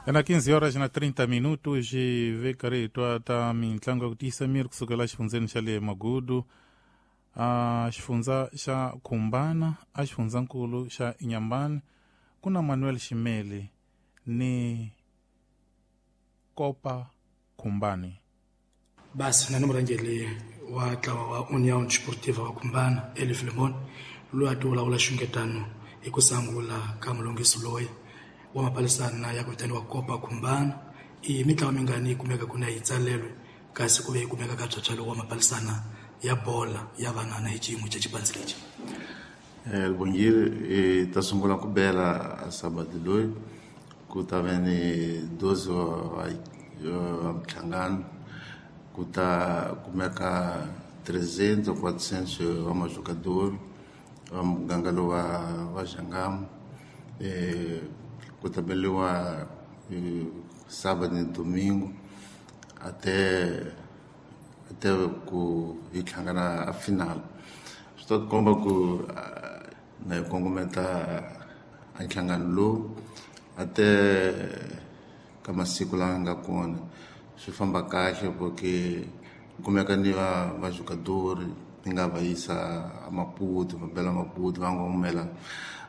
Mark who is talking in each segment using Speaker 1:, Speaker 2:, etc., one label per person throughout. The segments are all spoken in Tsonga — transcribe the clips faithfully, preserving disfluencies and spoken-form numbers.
Speaker 1: Ena quinze horas na trinta minutos vekari hi twa ta mitlangu ya ku tiyisa miri kusukela xifundzeni xa le Magudu, a xifundza xa Khumbana, a xifundzankulu xa Inhambane ku na Manuel Ximeli ni Kopa Khumbani.
Speaker 2: Basi na ni murhangeri wa ntlawa wa União Desportiva wa Khumbana Elif Limon loyi a ti vulavula xungetano hi ku sangula ka mulunghisi loyi wa mapalisana ya ku vitaniwa Kopa Khumbana. I mitlawa mingani yi kumeka ku na yi tsalelwe kasi ku ve yi kumeka ka byabyalo wa mapalisana ya bola ya vanana hi xiyimo xa xipandzi lexi?
Speaker 3: Lubongile i ta sungula ku bela a sabado loyi ku ta ve ni doze wa wa minhlangano, ku ta kumeka trezentos quatrocentos wa majogador wa muganga lowu wa wa Jangamo. Eh, ku ta beliwa sábado ni domingo até até ku hi hlangana a final. Swi ta komba ku na hi kongometa a nhlangano lowu ate ka masiku lawa nga kona swi famba kahle porque kumeka ni va va jogador ni nga va yisa a Maputo, va bela Maputo, va ngomela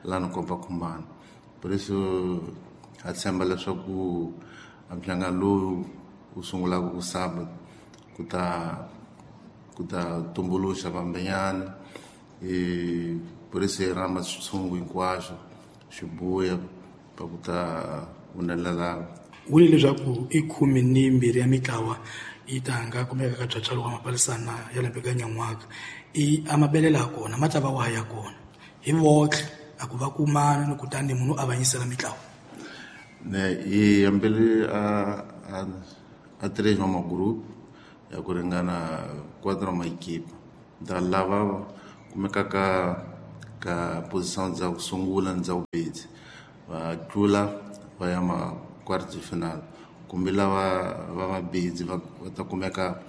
Speaker 3: lana Kopa Khumbana. Por isso ha tshemba leswaku a nhlangano lowu wu sungulaka ku sábado ku ta ku ta tumbuluxa vambenyana. E por isso hi rhamba switshungu hinkwaswo swi buya pa ku ta humelela.
Speaker 2: Vule leswaku i khume ni mbirhi ya mitlawa yi ta nga kumeka ka byabyalo wa mapalisana ya lembe ka nyan'waka. I a mabelela ya kona ma ta va wa ya kona hi votlhe a ku va kumana ni kutani munhu a avanyisela mitlawa.
Speaker 3: Ne hi hambele a a a três ma group ya ku ringana quatro ma equipe da lava kumeka ka ka posição dza ku sungula ni dza vumbirhi va tlula va ya ma quarto de final, kumbe lava va mabidzi va ta kumeka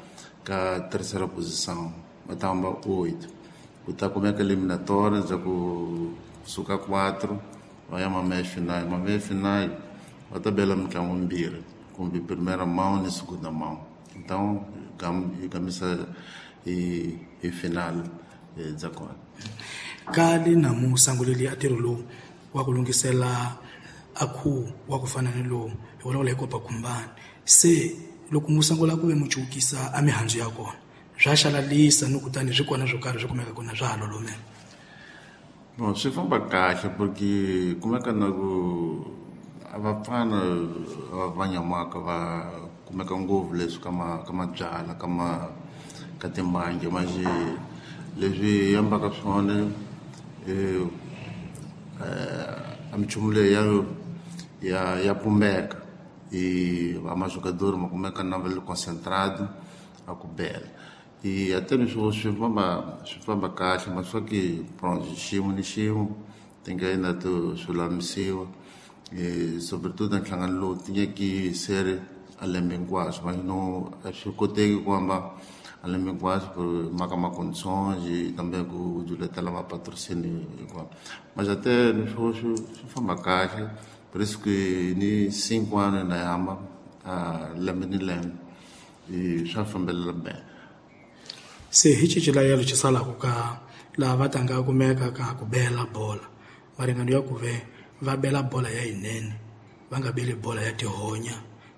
Speaker 3: ka terceira posição va ta hamba oito. Ku ta kumeka eliminatória dza ku suka quatro va ya ma meia final. Ma meia final va ta bela mitlangu mimbirhi kumbe primeira mão ni segunda mão. Então hi gamisa hi hi final dza kona.
Speaker 2: Ka le namu sanguleli a ntirho lowu wa ku lunghisela a khuwo wa ku fana ni lowu hi vulavula hi Kopa Khumbana, se loko mu sungula ku ve mu cukisa a mihandzu ya kona swa xalalisa ni kutani swi kona swo karhi swi kumeka kona swa ha lolomela?
Speaker 3: Bon, swi famba kahle porque kumeka na ku a vapfana va nyamaka va kumeka ngopfu leswi ka ma ka mabyala ka ma ka timbangi manje leswi yambaka swona eh a minchumu leyi ya ya ya pumbeka e a majogador ma kumeka na va le concentrado a ku bela. E até ni swi swi famba swi famba kahle mas só que pronto xiyimo ni xiyimo ti nga endla to swi lulamisiwa. E sobretudo nhlangano lowu ti nyeki sere a lembe hinkwaswo mas no a swi koteki ku hamba a lembe hinkwaswo por mhaka ma condições e também ku juletela ma patrocínio hinkwaswo. Mas até ni swo swi swi famba kahle, por isso que ni cinco anos na hamba a lembe ni lembe e swa fambelela bem.
Speaker 2: Se hi xici lexi salaka ka laha va tanga kumeka ka ku bela bola maringano ya ku ve va bela bola ya yinene va nga beli bola ya tihonya,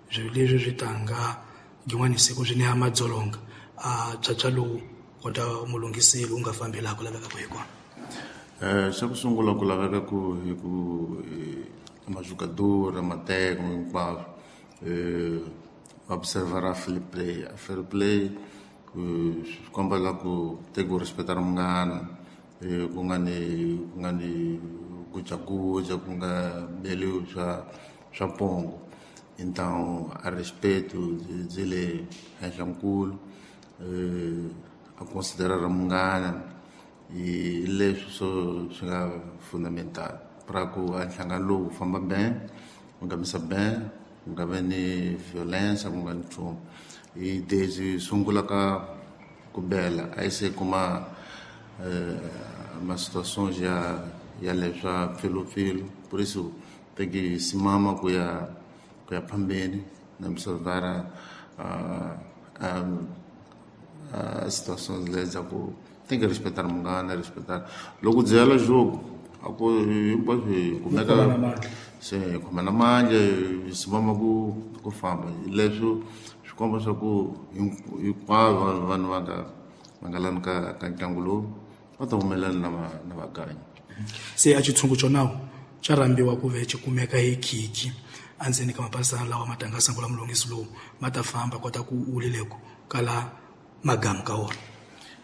Speaker 2: swilo leswi swi tanga yin'wana siku swi neha madzolonga a byabyalo lowu kota mulunghiseli wu nga fambi laha ku lavekaka hi kona.
Speaker 3: Eh xa ku sungula ku laveka ku hi ku majogador mateko hinkwaswo eh observar a fair play. A fair play ku swi komba la ku teka ku respecta munghana, ku nga ni ku nga ni gujaguja ku nga beliwi swa swa pongo. Então a respeito byi le henhla nkulu, a considerar munghana hi leswi swo swi nga fundamental para ku a nhlangano lowu wu famba bem, wu nghamisa bem, ku nga vi ni violência, ku nga ni nchumu. Hi desde sungula ka ku bela a yi se kuma ma situações ya ya leswa pfilupfilu, por isso tem que simama ku ya ku ya phambeni na observar a a situações leza ku tem que respeitar mungana, respeitar loko byela jogo a ku hinkwaswo hi kumeka se hi khomana mandla hi simama ku ku famba leswo swi komba swa ku hinkwavo vanhu va nga va nga lani ka ka ntlangu lowu va ta humelela na va na vaganyi.
Speaker 2: Se a xitshungu xonawu xa rhambiwa ku ve xi kumeka hi khikhi endzeni ka mapalisana lawa ma tanga sangula mulungisi lowu ma ta famba kota ku ulileko kala magamu ka wona.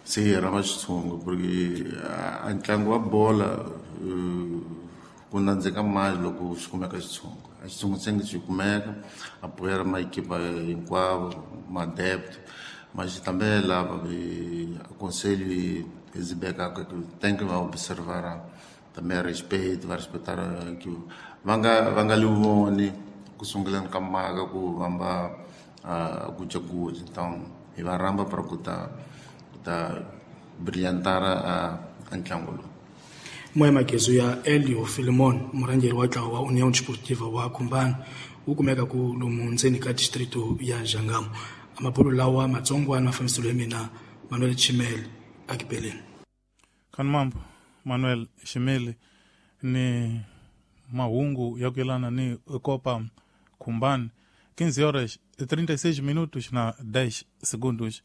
Speaker 3: Se hi rhamba xitshungu porque a ntlangu wa bola ku nandzika mali loko xi kumeka xitshungu. A xitshungu se xi kumeka apoiar maequipa hinkwavo ma-adepto mas também lava aconselho exibeka tem que observar também respeito va respeitar que va nga va nga livoni ku sunguleni ka mhaka ku vamba ku cakuza. Então hi va rhamba para ku ta ku ta brilhantar a ntlangu lowu.
Speaker 2: Moya Magezu ya Elio Filimon murhangeri wa ntlawa wa União Desportiva wa Khumbana wu kumeka ku lomu ndzeni ka distrito ya Jangamo. Amapulu lawa matsongwana mafambiselo ya mina Manuel Chimele akipeleni.
Speaker 1: Khanmambo Manuel Chimele ni mahungu ya ku yelana ni Copa Khumbana quinze horas e trinta e seis minutos na dez segundos.